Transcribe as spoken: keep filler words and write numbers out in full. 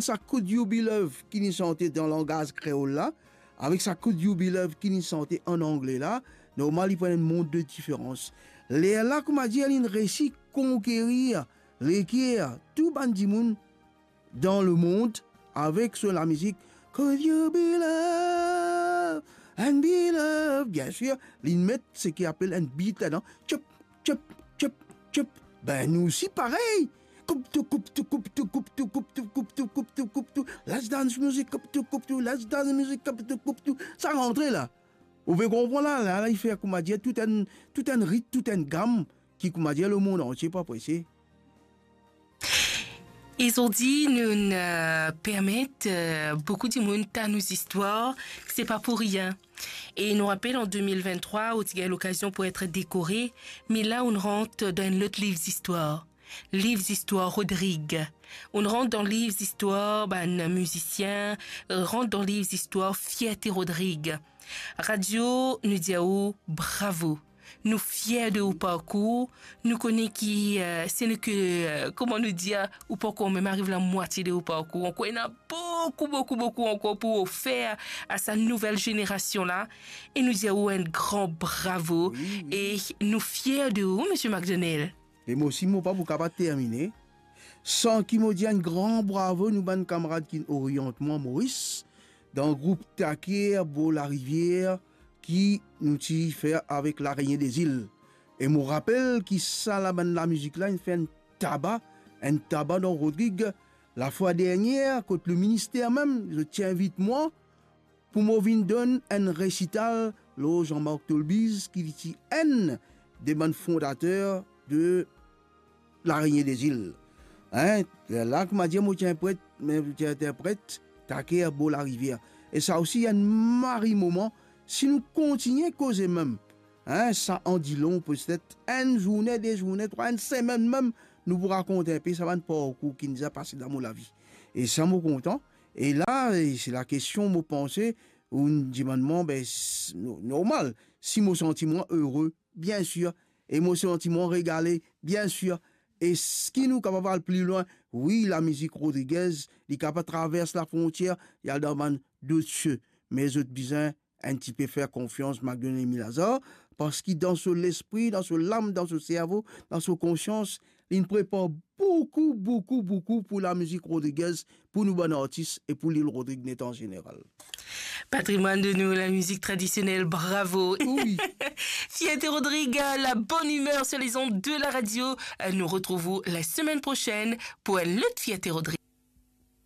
sa Could You Be Love ki li sante dan langaz kreol la, avek sa Could You Be Love ki li sante an angle la, normal, li pou ena enn mond de diferans. Lerla, koumadir, linn resi konkerir leker tou bann dimoun dan lemond avek so lamizik Could You Be Love and Be Love. Biensir, linn met seki apel enn beat ladan. Tchop, tchop, tchop, tchop. Be, nou osi parey. Koup tou, koup tou, koup tou, koup tou, koup tou, koup tou, koup tou, koup tou. Let's dance music, koup tou, koup tou, let's dance music, koup tou, koup tou. Sa rantre la. Ou pe konpran la, la, la, li fer, koumadir, tou enn, tou enn rit, tou enn gam ki, koumadir, lemond antie pou apresie. E zordi, nou, euh, permet, euh, boukou dimoun tann nou zistwar, se pa pou rien. E nou rapel, an de mil venntrwa, ou ti gagn lokazion pou et dekore, me la, ou rant dan enn lot liv zistwar. Liv zistwar Rodrig. Ou rant dan liv zistwar bann mizisien, rant dan liv zistwar Fierte Rodrig. Radio, nou dir ou bravo. Nou fier de ou parkour. Nou kone ki, euh, se nou ke, euh, kouma nou dir, ou pankor mem ariv lamwatie de ou parkour. Ankor ena boukou, boukou, boukou ankor pou ofer a sa nouvel zenerasion la. E nou dir ou enn gran bravo. Wi, wi. E nou fier de ou, Misie McDonald. E mo osi, mo pa pou kapav termine san ki mo dir enn gran bravo nou bann kamarad ki oriant mwa Moris, dan group Taker Bor Larivier ki nou ti fer avek Larenie Dezil. E mo rapel ki sa la bann lamizik la inn fer enn taba, enn taba dan Rodrig. Lafwa dernier, kot leminister mem, zot ti invit mwa pou mo vinn donn enn resital lor Jean-Marc Tolbiz, ki li ti enn de bann fondater de Larenie Dezil. Hein? La, koumadir, mo ti interpret, me mo ti interpret Taker Bor Larivier. E sa osi enn mari moman, si nou kontigne koze mem, hein, sa an dilon, petet enn zourne, de zourne, trwa, enn semenn mem, nou pou rakont inpe sa bann parkour ki nou ti pase dan mo lavi. E sa mo kontan. E la, e se lakestion, mo panse, ou dimann mwa, be, s-, no-, normal, si mo santi mwa ere, biensir, e mo santi mwa regale, biensir. Eski nou kapav al pli lwin? Wi, lamizik Rodriguez, li kapav travers lafrontier, li al dan bann dot sie. Me zot bizin enn tipe fer konfians Magdalene Emile Lazare, parski dan so lespri, dan so lam, dan so servo, dan so konsians, li prepar boukou, boukou, boukou pou lamizik Rodriguez, pou nou bann artis e pou Lil Rodrig net an zeneral. Patrimwann de nou, lamizik tradisionel, bravo. Wi. Fierte Rodrig, la bonne humeur sur les ondes de la radio. Euh, nous retrouvons la semaine prochaine pour un autre Fierte Rodrig.